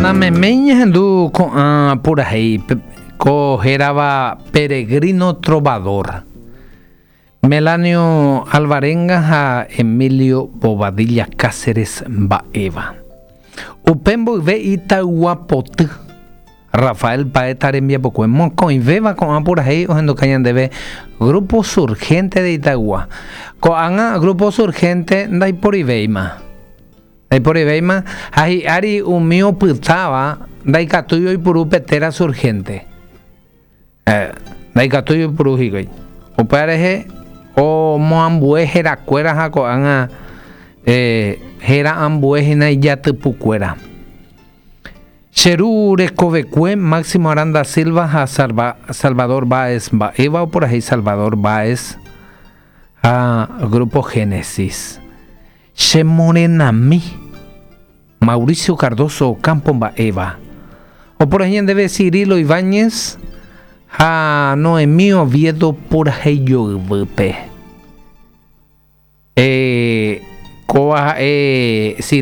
Nameméi ñahendu ko'ã purahéi ko hérava Peregrino Trovador. Melanio Alvarenga ha Emilio Bobadilla Cáceres mba'éva. Upe mboyve Itaygua Poty, Rafael Paeta rembiapokue mokõivéva ko'ã purahéi ohenduka ñandéve Grupo Surgente de Itaygua. Ko'ág̃a Grupo Surgente ndaiporivéima. Ndaiporivéima ha hi'ári umi opytáva ndaikatúi oipuru pe téra Surgente. Ndaikatúi oipuru hikuái. Upéva rehe omoambue herakuéra ha ko'ág̃a héra ambue hína ijatypukuéra. Che ru rekovekue Máximo Aranda Silva ha Salvador Báez mba'éva oporahéi Salvador Báez ha Grupo Génesis. Che morenami Mauricio Cardozo Ocampo mba'éva oporahéi ñandéve Cirilo Ibáñez ha Noemí Oviedo purahéi joyvýpe. Kóva ha'e Cirilo.